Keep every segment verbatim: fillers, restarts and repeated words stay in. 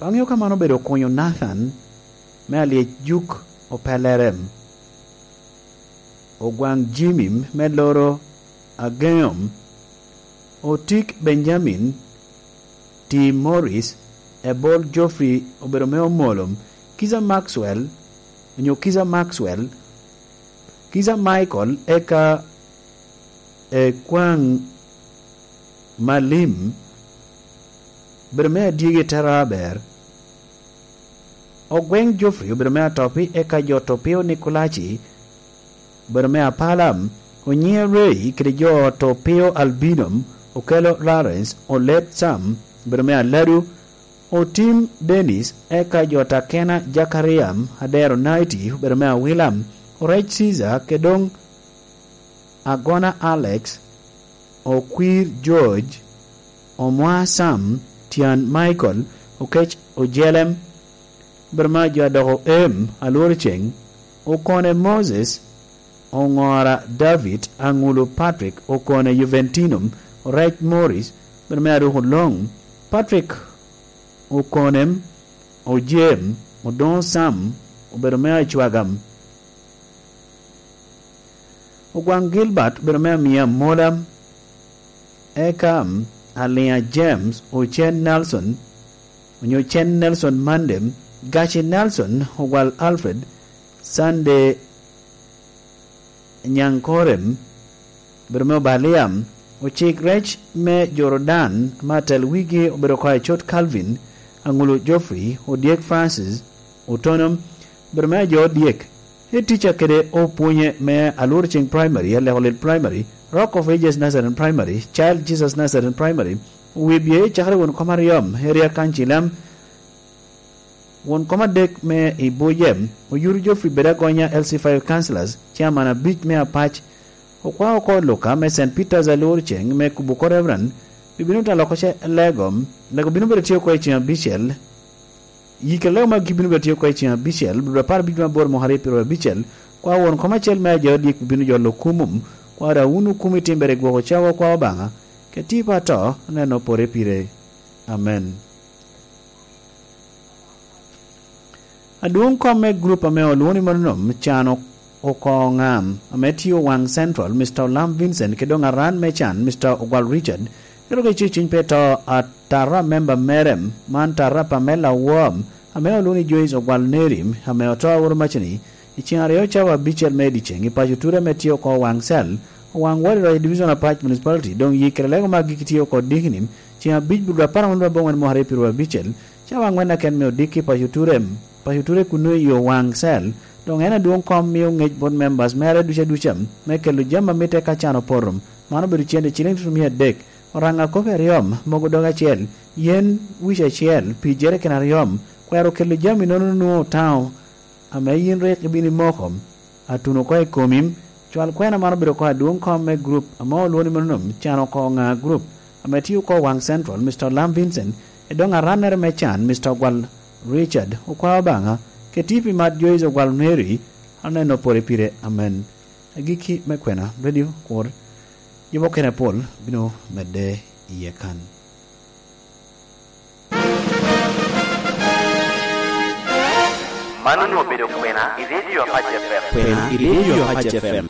Aŋeo ka man obedo kunyo Nathan me Alyec Juk Opelere, Ogwaŋ Jimmy me Loro Ageŋom, Otik Benjamin, Tim Morris, Ebol Geoffrey obedo me Omolom, Kiza Maxwell, onyo Kiza Maxwell, Kiza Michael, eka Ekwaŋ Malim, obedo me Adyegi Tera Aber, Ogweŋ Geoffrey obedo me Atopi, eka jo Topio Nikolaci obedo me Apala, Onyiŋe Ray kede jo Topio Albino, Okelo Lawrence, Olet Sam obedo me Aladu, Otim Dennis, eka jo Takena Jakaria, Adero Naiti obedo me Awila, Orec Caesar, kede doŋ Agona Alex, Okwir George, Omwa Sam, Tyan Michael, Okec Ojelem, Brema jo adoko em, Alworo Ceng, Okone Moses, Oŋora David, Aŋulu Patrick, Okone Juventino, Orec Morris, obedo me Aruk Oloŋ, Patrick Okonem, Ojem, Odoŋo Sam, obedo me Acwagam, Ogwaŋ Gilbert obedo me Amia Amola, eka Aliŋa James, Ocen Nelson, onyo Cen Nelson Mandem, Gaci Nelson, Ogwal Alfred, Sunday Nyaŋkorem, obedo me Obalia, Ocik Rec me Jordan, ame atel wigi obedo oko Acot Calvin, Aŋulu Geoffrey, Odyek Francis, Otonom, obedo me ajo Odyek, Head teacher kede opwonye me Alworo Ceng Primary, Aleko Lit Primary, Rock of Ages Nazarene Primary, Child Jesus Nazarene Primary, owibye i cakere won kom aryom, Area Council, won kom adek me i Bujem, Oyuru Geoffrey Bedagonya, L C five Councillors, Chairman abic me Apac, Okwao oko Luka me Saint Peter's Alworo Ceng me kubo oko Reverend, bibino talo oko ce lego, lego bino bedo tye oko i ceng abicel, Yikere lego magi bino bedo tye oko i ceng abicel, dwe apar abic me aboro mwaka aryo pyeraryo abicel, kwa won kom acel me aja odyek bino jolo kumum, kwa da wun okumi timbere gwoko cawa kwa Obaŋa, kede tipo ato, neno pore pire. Amen. Adwoŋ kom me gurup ame olwoŋo ni Mononom can oko ŋam, ame tye Owaŋ Central, Mister Olam Vincent, kede doŋ aran me can, Mister Ogwal Richard, Ento ka icwec cwiny pe to, atara memba mere, man tara Pamela Wom, ame olwoŋo ni Joyce Ogwal Neri, ame oto aworo macani, i ceŋ aryo cawa abicel me dyeceŋ i paco Ture ame tye oko Waŋ Cel, Owaŋ Wadi Roc i Division Apac Municipality, doŋ yikere lego me agikki tye oko Dikinim, ceŋ abic Budwe apar aŋwen aboŋwen mwaka aryo pyeraryo abicel, cawa aŋwen aken me odikki i paco Ture, paco Ture kunnu i yo Waŋ Cel, doŋ en adwoŋ kom mio ŋec bot members mere ducu aduca me kelo jami a mitte ka can opoto. Man obedo cente ciliŋ tutumia adek. Oraŋa kop aryo, mogo dog acel, yen wic acel, pi jereken aryo, kwero kelo jami nono nwoŋo otaŋo, ame yin rik ibino imoko, atuno oko i komi. Cwal kwena man obedo oko adwoŋ kom me gurup ame olwoŋo ni Mononom can oko ŋa gurup, ame tye oko Waŋ Central, Mister Olam Vincent, i doŋ arannere me can, Mister Ogwal Richard, okwao Obaŋa, keti pi mat Joyce Ogwal Mary, aneno pore pire. Amen. Agikki me kwena, Radio Kwor, jo mukene apol bino medde iye kan. Man onwoŋo obedo kwena i Radio Apac F M. Kwena i Radio Apac F M.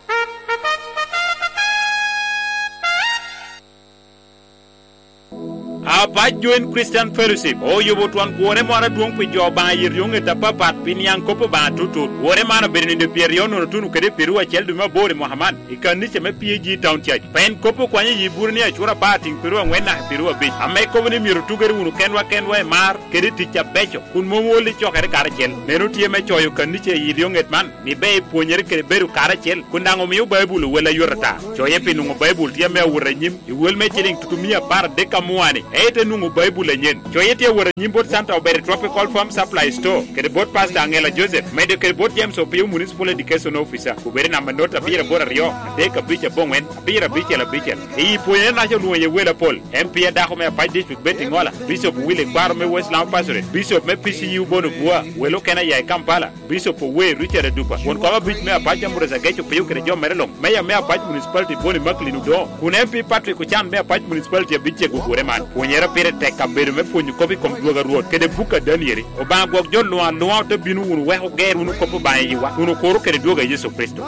Apac Joint Christian Fellowship oyubo twon gwore moro adwoŋ pi jo Obaŋa i ryoŋet apapat pi niaŋ kop Obaŋa tutut. Gwore man obedo nino pyeraryo nono tuno kede pyeraryo acel dwe me aboro i mwaka man i kanica me P A G Town Church. Pien kop okwanyo i yi buro ni acura apar tiŋ pyeraryo aŋwen naka pyeraryo abic, ame kobo ni myero otugere wunu kenwa kenwa i mar kede i tic abeco, kun mom ol i cokere karacel. Meno tye me coyo kanica i ryoŋet man, ni ber ipwonyere kede bedo karacel, kun daŋ omio Baibul owel ayot ata. Coye pi nwoŋo Baibul tye ame awot anyim i wel me ciliŋ tutumia apar adek amua-ni, ento enwoŋo Baibul anyen. Coye tye awot anyim bot Santa Obere Tropical Farm Supply Store, kede bot Pastor Angela Joseph, medo kede bot James Opio, Municipal Education Officer, obed i namba not abiro aboro aryo, adek abic aboŋwen, abiro abicel abicel. I pwonyere-naca olwoŋo iye wel apol, M P adako me Apac District Betty Ŋola, Bishop Willy Kwaro me West Lamu Pastorate, Bishop me P C U Bono Bua, wel okene aya i Kampala, Bishop Owe Richard Adupa, won kom abic me Apac Ambrose Ageco Pio kede jo mere luŋ, Meya me Apac Municipality Boni Macklin Odongo, kun M P Patrick Ochan me Apac Municipality abic cego ogure man. Pwonye Ero pire tek abedo me pwonyo kop i kom dwogo a Rwot kede buk a Danieli. Obaŋa gwok jo luŋ aluŋa ote bino wunu wek oger wunu kop Obaŋa i yiwa, kun okuro kede dwogo a Yecu Kricito.